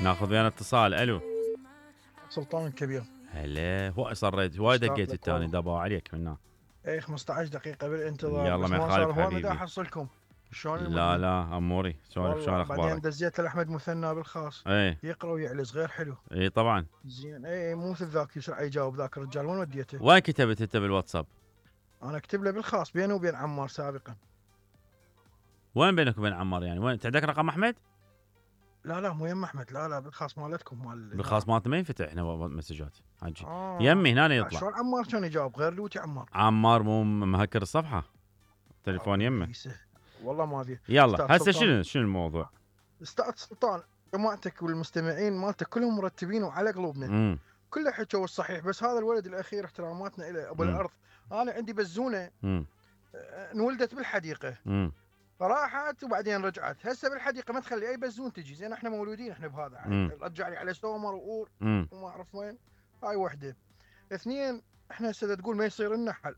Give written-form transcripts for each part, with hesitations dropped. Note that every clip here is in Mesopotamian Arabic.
ناخذ ويانا اتصال. الو سلطان الكبير. هلا هو صريت وايد دقيت الثاني دبوا عليك منا. اي 15 دقيقة بالانتظار. يلا ما يخالف هو حبيبي. ما احصلكم شلون لا لا اموري سولف شلون اخبارك؟ بعدين دزيت لاحمد مثنى بالخاص. ايه يقرا ويعلز غير حلو. اي طبعا. زين اي مو مثل ذاك يسرع يجاوب ذاك الرجال. وين وديته؟ وين كتبت انت بالواتساب؟ انا اكتب له بالخاص بينه وبين عمار سابقا. وين بينك وبين عمار يعني؟ وين عندك رقم احمد؟ لا مو يم احمد. لا بالخاص مالتكم بالخاص مالتنا ما ينفتح هنا مسجات حجي. يمي هنا يطلع. شلون عمار كان يجاوب غير لوتي عمار؟ عمار مو مهكر الصفحه تليفون يمه. والله ما ادري. يلا هسه شنو الموضوع؟ استاذ سلطان جماعتك والمستمعين مالتك كلهم مرتبين وعلى قلوبنا. كله حكوا الصحيح بس هذا الولد الاخير احتراماتنا له ابو الارض. انا عندي بزونه انولدت بالحديقه. راحت وبعدين رجعت. هسه بالحديقه ما تخلي اي بزون تجي. زين احنا مولودين احنا بهذا. رجع لي على سومر وقور وما اعرف وين. هاي وحده. اثنين احنا هسه تقول ما يصير لنا حل.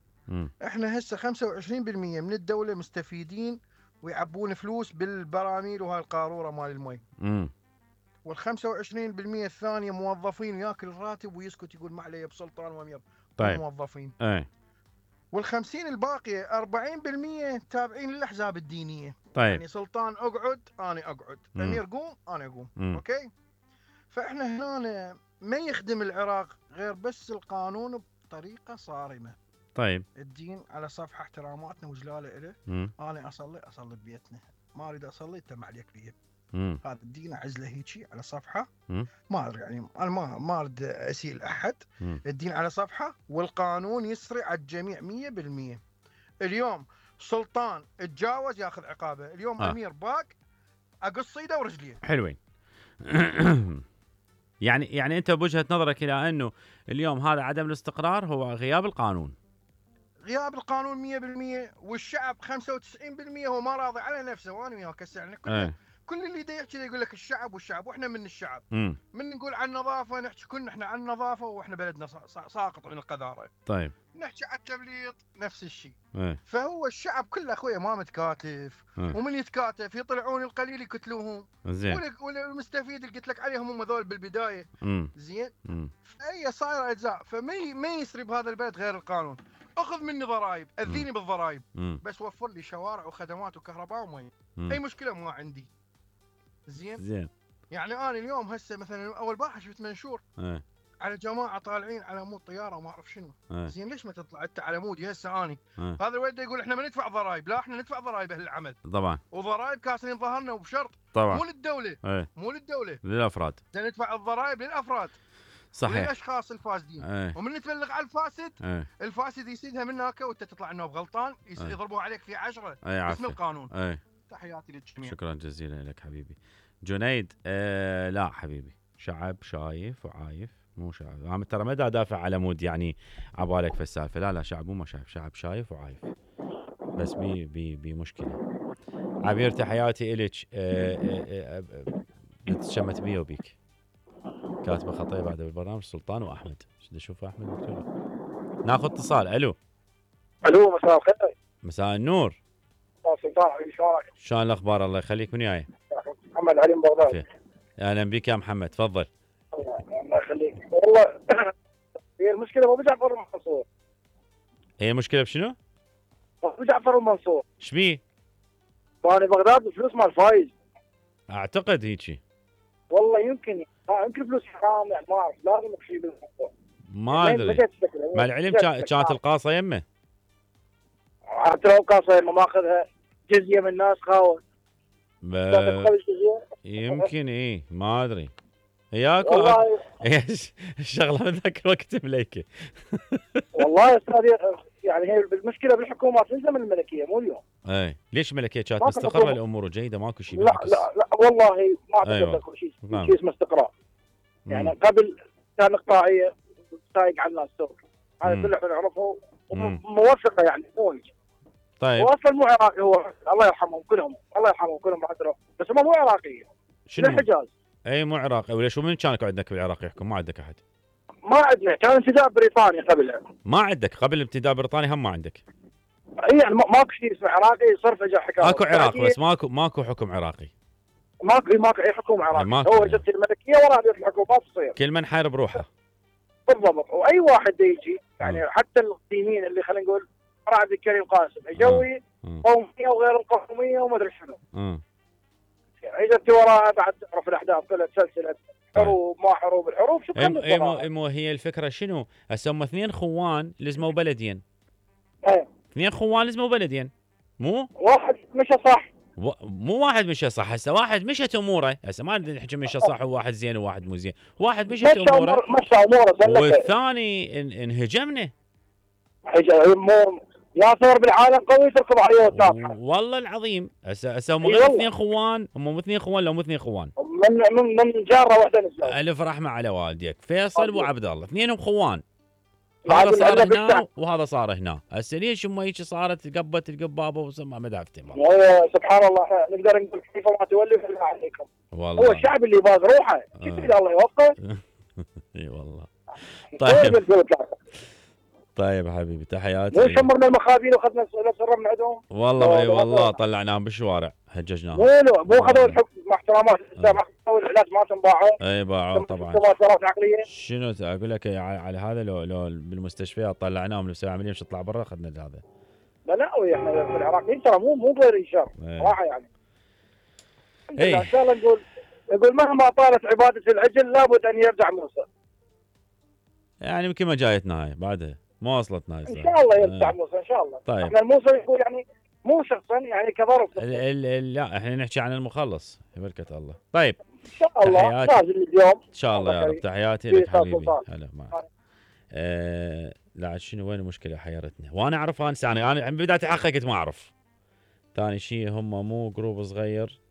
احنا هسه 25% من الدوله مستفيدين ويعبون فلوس بالبراميل وهاي القاروره مال المي. وال25% الثانيه موظفين ياكل راتب ويسكت يقول ما علي بسلطان وامير. طيب. موظفين. اي. وال50 الباقيه 40% تابعين للاحزاب الدينيه. طيب. يعني سلطان اقعد انا اقعد. امير قوم انا اقوم. اوكي. فاحنا هنا ما يخدم العراق غير بس القانون بطريقه صارمه. طيب. الدين على صفحه احتراماتنا وجلاله له. انا اصلي ببيتنا. ما اريد اصلي انت ما عليك بيه. هذا الدين اعزله هيجي على صفحه. ما ادري يعني انا ما اريد اسيء احد. الدين على صفحه والقانون يسري على الجميع 100%. اليوم سلطان اتجاوز ياخذ عقابه. اليوم امير باك اقص ايده ورجليه. حلوين. يعني انت بوجهه نظرك الى انه اليوم هذا عدم الاستقرار هو غياب القانون. غياب القانون 100%. والشعب 95% هو ما راضي على نفسه. وانا وياك هسه يعني كل اللي دا يحكي يقول لك الشعب والشعب واحنا من الشعب. من نقول عن النظافه نحكي كلنا احنا عن النظافه واحنا بلدنا ساقط عن القذاره. طيب. نحكي عن التبليط نفس الشيء. فهو الشعب كله اخويا ما متكاتف. ومن يتكاتف يطلعون القليل يقتلوهم. زين. والمستفيد اللي قلت لك عليهم هم ذول بالبدايه. زين. فهي صايره اجزاء. فما يسري بهذا البلد غير القانون. اخذ مني ضرائب اذيني بالضرائب بس وفر لي شوارع وخدمات وكهرباء ومي. اي مشكله ما عندي. زين. يعني انا اليوم هسه مثلا اول بارحه شفت منشور على جماعه طالعين على مود طياره وما اعرف شنو. زين ليش ما تطلع انت على مودي هسه اني؟ هذا الولد يقول احنا ما ندفع ضرائب. لا احنا ندفع ضرائب اهل العمل طبعا. وضرائب كاسرين ظهرنا وبشرط طبعا. مو للدوله. مو للدوله للافراد. ندفع الضرائب للافراد. صحيح. للاشخاص الفاسدين. ومن تبلغ على الفاسد الفاسد يسيدها من هناك وانت تطلع انه بغلطان يضربوا عليك في 10 باسم القانون. تحياتي للجميع. شكرا جزيلا لك حبيبي جنيد. لا حبيبي شعب شايف وعايف مو شعب. انا ترى ما دا ادافع على مود يعني عبالك في السالفه. لا شعب مو ما شايف. شعب شايف وعايف بس بي مشكله. عبير تحياتي الك. نتشمت بيه وبيك. كاتبه خطيه بعد بالبرنامج سلطان واحمد. شو اشوف احمد مكتوب. ناخذ اتصال. الو مساء الخير. مساء النور. سلطان حبيبي شلونك؟ شلون الاخبار؟ الله يخليك. من وياي؟ محمد علي من بغداد. اهلا بك يا محمد تفضل. الله يخليك. والله هي المشكله ابو جعفر المنصور. هي المشكله بشنو؟ ابو جعفر المنصور. ايش بيه؟ وانا بغداد بفلوس مال فايز. اعتقد هيجي. والله يمكن فلوس حرام يعني ما اعرف. لازم شيء بالموضوع. ما ادري. مع العلم كانت القاصه يمه. حتى لو قاصه يمه ماخذها جزيه من الناس خاوه. يمكن ما ادري. هياكو الشغله من ذاك الوقت مليكه. والله يا استاذ يعني هي المشكله بالحكومات تلزم الملكيه مو اليوم. ليش الملكيه كانت مستقره الامور جيده ماكو شيء بالعكس. لا والله ما اعتقد اكو شيء اسمه استقرار. يعني قبل كان اقطاعيه سايق على الناس سوق. هذا كله نعرفه موثقه يعني مو. طيب هو اصلا مو عراقي. هو الله يرحمهم كلهم بس هم مو عراقيين. شنو الحجاز. مو عراقي. وليش ومن كان عندك بالعراق يحكم؟ ما عندك احد. ما عندنا. كان انتداب بريطاني قبلها. ما عندك قبل انتداب بريطاني هم ما عندك. يعني ماكو شيء اسمه عراقي صرف اجى حكايه. اكو عراق بس ماكو حكم عراقي. ماكو اي حكومه عراقيه، هو اجت الملكيه ورا هذه الحكومات تصير كل من حاير بروحه بالضبط. واي واحد يجي يعني حتى القديمين اللي خلينا نقول عبد الكريم قاسم يجوي قوميه وغير القوميه وما ادري شنو. اجت وراها بعد تعرف الاحداث كلها سلسله حروب ما حروب، الحروب شو مو هي الفكره شنو؟ هسه هم اثنين خوان لزموا بلدين. اثنين خوان لزموا بلدين، مو؟ واحد مشى صح. مو واحد مشى صح، هسه واحد مشت اموره، هسه ما نحكي مشى صح وواحد زين وواحد مو زين، واحد مشت اموره مشى اموره والثاني انهجمنا. يا ثور بالعالم قوي تركض عليه وتناطحه. والله العظيم هسه هم غير اثنين خوان، هم مو اثنين خوان، لو مو اثنين خوان من جاره واحده نسوي. الف رحمه على والديك فيصل وعبد الله، اثنينهم خوان. هذا صار هنا وهذا صار هنا، هسه ليش هم هيك صارت قبت القبابه وسمع ما دافتهم. سبحان الله نقدر نقول كيف ما تولي فلا عليكم. والله هو الشعب اللي باز روحه كيف الله يوفقه. اي والله. طيب طيب حبيبي تحياتي. مو شمرنا المخابين واخذنا السر من عندهم. والله اي والله طلعناهم بالشوارع هججناهم. مو اخذوا الحكم مع احترامات ما اخذوا العلاج مالتهم باعوا. اي باعوا طبعا. شنو اقول لك على هذا لو بالمستشفيات طلعناهم نسوي عمليه مش تطلع برا اخذنا هذا. لا احنا في العراق ترى مو غير شر صراحه يعني. اي ان شاء الله نقول مهما طالت عباده العجل لابد ان يرجع موسى. يعني يمكن ما جايتنا هاي بعدها ما وصلتنا هاي ان شاء الله يرجع موسى ان شاء الله. طيب احنا الموسى يقول يعني مو شخصا يعني كظرف. لا احنا نحكي عن المخلص بركة الله. طيب ان شاء الله لازم اليوم ان شاء الله يا رب. تحياتي لك حبيبي. هلا معك. لا شنو وين المشكله حيرتني وانا اعرف انا بدايه الحلقه كنت ما اعرف. ثاني شيء هم مو جروب صغير.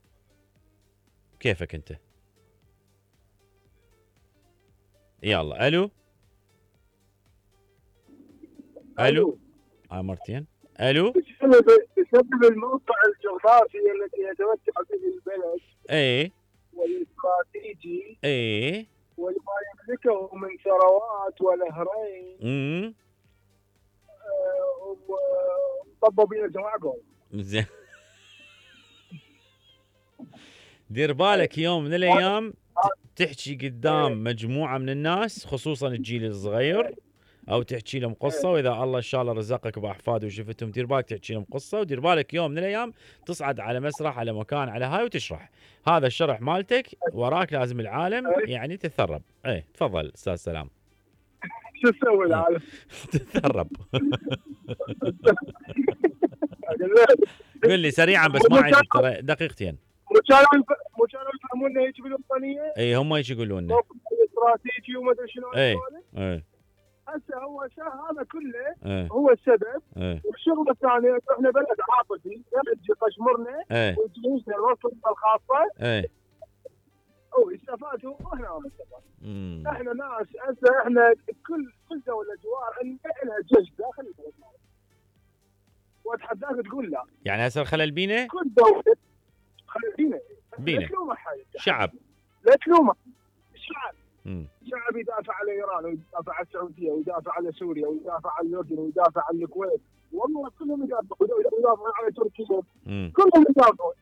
كيفك انت؟ يلا الو مرتين الو. بسبب الموقع الجغرافي الذي يتمتع به البلد والاستراتيجي وما يملكه من ثروات ونهرين طبوا بينا جماعكم. زين دير بالك يوم من الايام تحكي قدام مجموعه من الناس خصوصا الجيل الصغير او تحكي لهم قصه، واذا الله ان شاء الله رزقك باحفاد وشفتهم دير بالك تحكي لهم قصه، ودير بالك يوم من الايام تصعد على مسرح على مكان على هاي وتشرح هذا الشرح مالتك وراك لازم العالم يعني تتثرب. تفضل استاذ سلام. شو تسوي العالم؟ تتثرب. قل لي سريعا بس ما عندي ترى دقيقتين. مو كانوا يفهمونا هيك بالوطنيه؟ اي هم هيك يقولون لنا استراتيجي وما ادري شنو. هسه هو هذا كله هو السبب. والشغل الثاني احنا بلد عاطفي يجي قشمرنا ويجينا الوسط الخاصه ويستفادوا واحنا ما نستفاد. احنا ناس هسه احنا كل دوله جوار لها جيش داخل البلد واتحداك تقول لا. يعني هسه الخلل بينا؟ كل دوله خلل بينا. لا تلومه شعب. لا تلومه الشعب. شعب يدافع على ايران ويدافع على السعوديه ويدافع على سوريا ويدافع على الاردن ويدافع على الكويت، والله كلهم يدافعوا ويدافعوا على تركيا. كلهم يدافعوا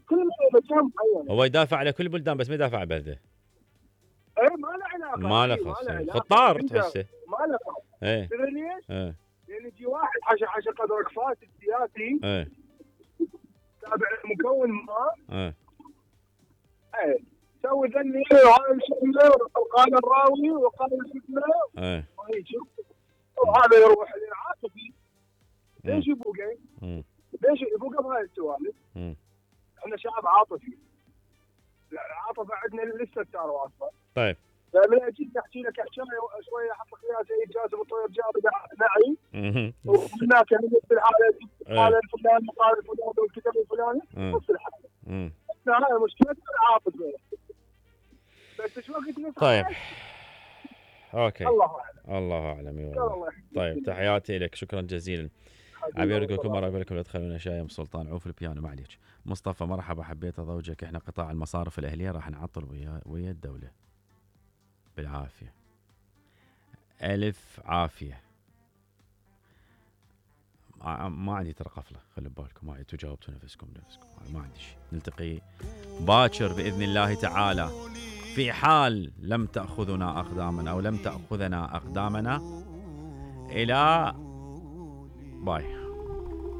كل مكان معين. هو يدافع على كل البلدان بس ما يدافع على بلده. ما له علاقه. ما له خص. خطار تحسه. ما له خص. تدري ليش؟ لان يجي واحد حاشا قدرك فاسد سياسي تابع المكون ما سوي ذني وهذا الشكله وقال الراوي وقال الشكله وهذا يروح للعاطفي. ليش يبوقه؟ ليش يبوقه بهاي السوالف؟ احنا شعب عاطفي. العاطفه عندنا لسه صار واصله. طيب فمن اجيك احكي لك حكايه شويه احط لك اياها سيد جاسم الطيب جاب نعي وهناك مثل الحاله قال الفلاني وقال الفلاني والكتاب الفلاني نفس الحاله. هاي مشكله العاطفه. بس شو وقت. طيب اوكي الله اعلم. الله اعلم. طيب تحياتي لك شكرا جزيلا. عبير لكم مره اقول لكم لا تخلونا شايم سلطان عوف البيانو معليش. مصطفى مرحبا حبيت ازوجك احنا قطاع المصارف الاهليه راح نعطل ويا الدوله بالعافيه. الف عافيه. ما عندي ترى قفله، خلي ببالكم، ما عندي، تجاوبتوا نفسكم ما عندي شيء. نلتقي باكر باذن الله تعالى، في حال لم تاخذنا اقدامنا او لم تاخذنا اقدامنا. الى باي.